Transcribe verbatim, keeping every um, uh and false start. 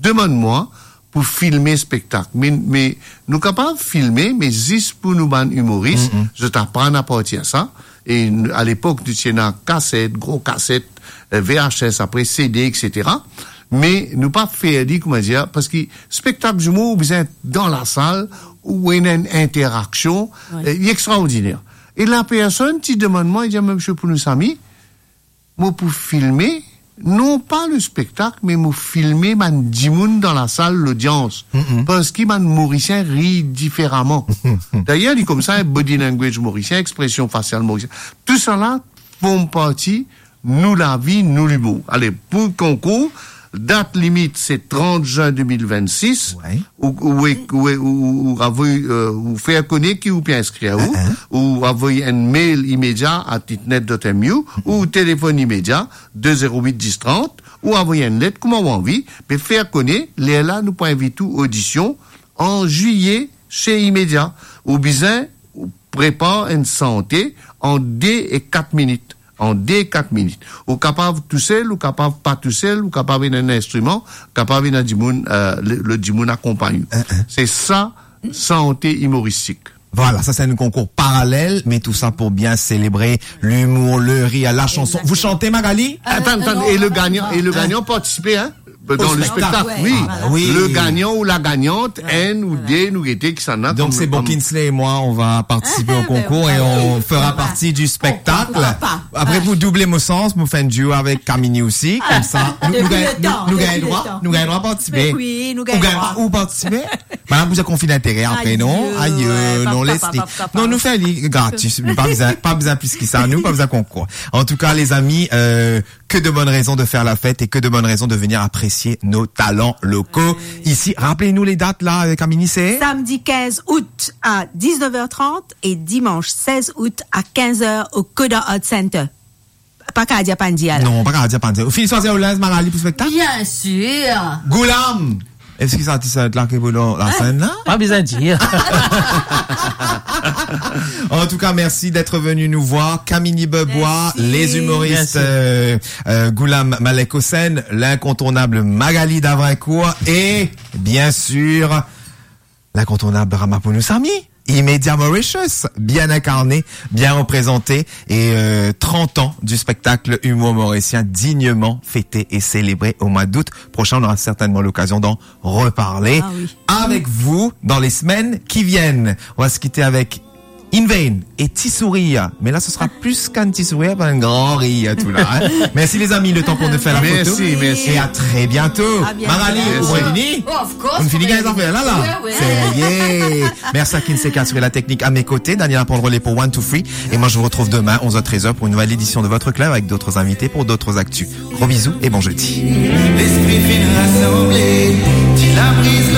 demann mwa pou filme spektak. Me, me nou kapav filme, me zis pou nou bann imoris, zot aprann apartir sa. E n-, a lepok, nou ti ena kaset, gro kaset, eh, V H S, apre C D, et cetera. Me nou pa fer li, koumadir, parski spektak zimo, ou bizin dan lasal, ou ena enn interaksion, eh, li extraordiner. E lapersonn ti demann mwa, li dir, "Me misie Pounousamy, mo pou filme, non pa le spektak, me mo filme bann dimoun dan lasal, lodians, parski bann Morisien ri diferaman." Dayer, li koumsa, body language morisien, expresion fasial morisien, tousala form parti nou lavi, nou limour. Ale, pou konkour, dat limit se trant zin de mil vennsis. Ou, ou, ou, ou, ou, ou avoy, eh, ou fer kone ki ou pe inskrir ou, ou avoy enn mail Imedia at itnet dot M U, ou telefonn Imedia, de zero wit dis trant, ou avoy enn let, kouma ou anvi, me fer kone, lerla nou pou invit ou odision an zwiye se Imedia. Ou bizin prepar enn sante an de e kat minit. An de e kat minit. Ou kapav tousel, ou kapav pa tousel, ou kapav ena enn instriman, kapav ena dimoun, eh, le, le dimoun akonpagn ou. Se sa, sante imoristik. Voilà, ça c'est un concours parallèle, mais tout ça pour bien célébrer l'humour, le rire, la chanson. Vous chantez, Magali ? Atann, atann, non, e le gagnan, e le gagnan partisipe, hein ? Dan le spektak, wi. Le gagnan ou la gagnant, enn ou de, nou gete kisannla. Donc c'est bon, Kinsley et moi, on va participer au concours et on fera partie du spectacle. Après, pour doubler mon sens, nou fer enn duo avek Kamini osi, koumsa nou, nou gagn, nou, nou gagn drwa, nou gagn drwa partisipe. Ou gagn drwa ou partisipe. Madame, vous avez conflit d'intérêt après, non ? Aïe, non, laisse. Non, nou fer li gratis, pa bizin, pa bizin plis ki sa, nou pa bizin konkour. En tout cas, les amis, euh, que de bonnes raisons de faire la fête et que de bonnes raisons de venir apprécier nos talents locaux ici. Rappelez-nous les dates là, euh, Kamini, c'est ? Samedi quinze août à dix-neuf heures trente et dimanche seize août à quinze heures au Coda Art Center. Pa kapav dir pa nou dir la. Non, pa kapav dir pa nou dir. Ou finn swazir ou linz, Magali, pou spektak ? Bien sûr. Goulam ! Eski sa ti sa et la ki pou dan la senn la ? Pa bizin dir. En tout cas, merci d'être venu nous voir. Kamini Bebois, les humoristes, euh, euh, Goulam Malek Hossein, l'incontournable Magali Davrincourt et, bien sûr, l'incontournable Ramaphosa Samy, Imedia Mauritius, bien incarné, bien représenté, et, euh, trente ans du spectacle humour mauricien dignement fêté et célébré au mois d'août prochain. On aura certainement l'occasion d'en reparler avec vous dans les semaines qui viennent. On va se quitter avec In Vain et Ti Sourir. Mais là, ce sera plus qu'un petit sourire, ben, un grand rire, tout là, hein. Merci les amis, le temps pour nous faire la photo. Merci, merci. Et à très bientôt. À bientôt. Magali, ou fini ? Of course, ou fini, gagn zafer la, la. Ouais, ouais. Ça y est. Merci à Kinsey qui a assuré la technique à mes côtés. Daniel va prendre le relais pour One, Two, Three. Et moi, je vous retrouve demain, onze heures, treize heures, pour une nouvelle édition de votre club avec d'autres invités pour d'autres actus. Gros bisous et bon jeudi. Lespri finn rasanble, ti labriz